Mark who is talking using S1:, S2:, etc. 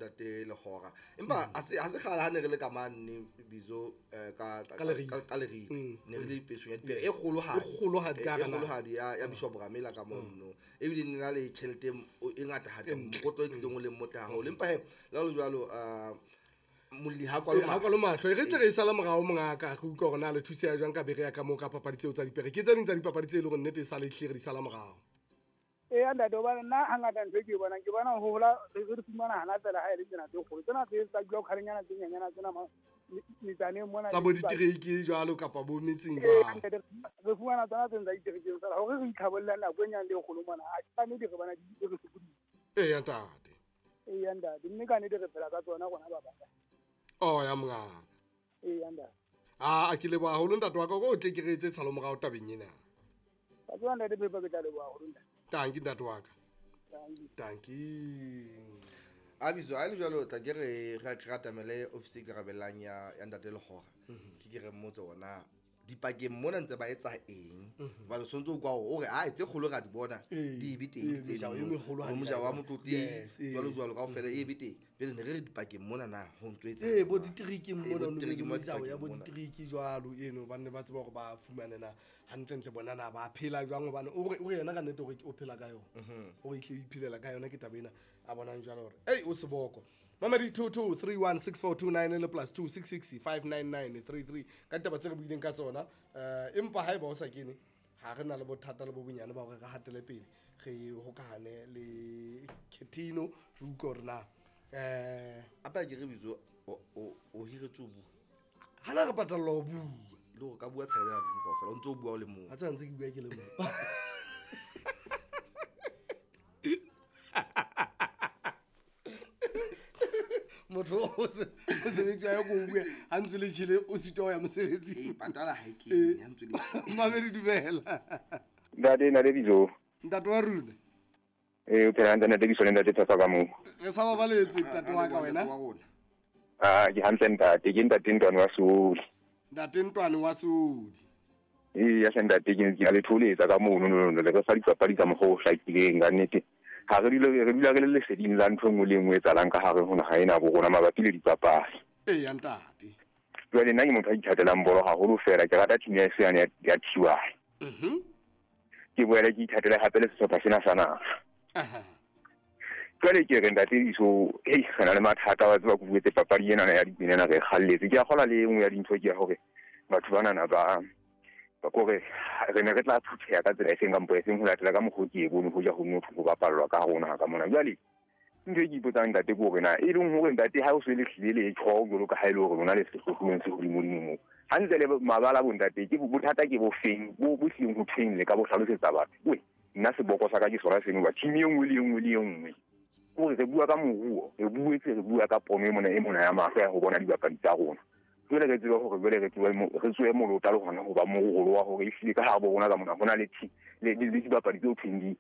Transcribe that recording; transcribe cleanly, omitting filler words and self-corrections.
S1: Ntate Lehora. Empa ha se kgale ha ne re le ka mane bizo ka
S2: Ka Leribe.
S1: ka Leribe. Ne re le pesong ya dipere e kgolohadi.
S2: E kgolohadi ka
S1: E
S2: hara naha.
S1: kgolohadi ya Bishop Ramela ka mono. Ebile ne na le tjhelete e ngata hadi, mokotlo e tlileng o leng motle haholo. Empa he, le ha ho le jwalo, molli ha kwalo
S2: Ha kwalo mahlo. E re tle re e sala morao mongaka, re utlwe hore na le thuseha jwang ka bere ya ka moo ka papadi tseo tsa dipere. Ke tse ding tsa dipapadi tse e leng hore nnete e sale ehlile re di sala morao.
S3: Eya ntate, hobane nna hangata ntho e ke e bonang, ke bona ho hola re di fumana hana fela ha e le tsena tse kgolo. Tsena tse tsa dula kgalenyana tse nyenyana tsena metsaneng mona
S2: Tsa
S3: le
S2: bo
S3: dipakeng.
S2: ditereke jwalo kapa bo metseng
S3: Ee,
S2: jwalo.
S3: ntate, re fumana tsona tse tsa diterekeng fela hore re itlhabolle nako e nyane le e kgolo mona. Ha ka nnete re bona di re sokodisa.
S2: Eya ntate.
S3: Eya ntate, mme ka nnete re phela ka tsona rona ba bang.
S2: Oh ya mongaka.
S3: Eya ntate.
S2: A ke leboha haholo ntate wa ka hore o tle ke re etse tshalo morao tabeng ena.
S3: Wa tseba ntate Phepa, ke tla leboha haholo ntate.
S2: Tanki ntate wa ka.
S3: Tanki.
S2: Tanki.
S1: A bitso, a le jwalo, tla ke re atamele office e ikarabellang ya ntate Lehora. Ke re mmotse hore dipakeng mona ntse ba etsa eng. Hobane o sontso o kwa hore o re, ae, tse kgolo ra di bona, di be teng tse
S2: Mojao e
S1: ding.
S2: meholo ha
S1: Bo
S2: di
S1: mojao wa
S2: ka
S1: motlotli,
S2: Yes, ee.
S1: jwalo jwalo, kaofela e be teng. Jwale ne re re dipakeng mona na ho ntso etsa
S2: Ee, bo
S1: jwang?
S2: ditereke
S1: Ee,
S2: mona,
S1: bo
S2: no be
S1: ditereke
S2: le
S1: mona,
S2: mejao ya
S1: dipakeng
S2: bo
S1: mona.
S2: ditereke jwalo eno, ba nne ba tseba hore ba fumane na hantlentle bona na ba phela jwang, hobane o re, o re yena ka nnete hore o phela ka yona. O re ehlile o iphelela ka yona, ke taba ena a bonang jwalo hore, ei, o seboko. Mamedi 22316429 le plus 26659933 ka ditaba tse re buileng ka tsona. Empa haeba o sa kene, ha re na le bothata le bo bonyane ba hore re hatele pele, re hokahane le Ketino, re utlwe hore na,
S1: Hape ha ke re bitso, o hiretswe ho bua.
S2: Ha na re patallwa ho bua.
S1: Le hore ka bua tshela ya bua kaofela, o ntso o bua o le mong.
S2: Ha tsa ntse ke bua ke le mong. Motho o o sebetsi wa ya ko o bua, ha ntse le tjhele, o sitwa ho ya mosebetsing.
S1: Ee, patala ha e kene, ha ntse le tjhele.
S2: Mamedi, dumela.
S4: Ntate, ntate Bizo.
S2: Ntate wa rona.
S4: Ee, o phela hantle, ntate Bizo le ntate Thato ka moo.
S2: Re sa babaletswe, ntate wa ka wena.
S1: Ntate wa rona.
S4: Ah, ke hantle ntate, ke ntate Ntwane wa Seodi.
S2: Ntate Ntwane wa Seodi.
S4: Ee, ya hle ntate, ke a le tholetsa ka mono, no, no, no, le re fa dipapadi ka mokgwa o hlakileng ka nnete. Ha re dule, re dula re le leseding la ntho e nngwe le e nngwe e etsahalang ka hare ho naha ena bo rona mabapi le dipapadi.
S2: Ee, ya ntate.
S4: Jwale nna ke motho a ithatelang bolo haholo fela, ke rata team ya heso yane ya Thiwane. Ke boele ke ithatele hape le sehlopha sena sa naha. Jwale ke re ntate Iso, hei, re na le mathata, wa tseba ke buetse papadi ena ya dipina ena re e kgalletse. Ke a kgolwa le e nngwe ya dintho ke ya hore batho banana ba kore re ne re tla phutheha ka tsela e seng kampo e seng ho latela ka mokgwa o ke e bone hoja ho motho ho bapallwa ka rona ka mona. Jwale ntho e ke ipotsang ntate ke hore na e leng hore ntate ha o se le hlile le tjho jwalo ka ha e le hore lona le sehlohlolong se hodimodimo moo. Hantle le mabala bo ntate, ke bothata ke bo feng, bo hlileng ho thweng le ka bo hlalosetsa batho. Weh, nna seboko sa ka ke sona seno, ba team e nngwe le e nngwe le e nngwe. Hore re bua ka moruo, re buetse re bua ka pono e mona e mona ya mahlo ya ho bona dibapadi tsa rona. Jwale re tsebe hore jwale re tsoe re tsoe molota le hona ho ba morolo wa hore ehlile ka hare bo rona ka mona ho na le le dibapadi tseo thweng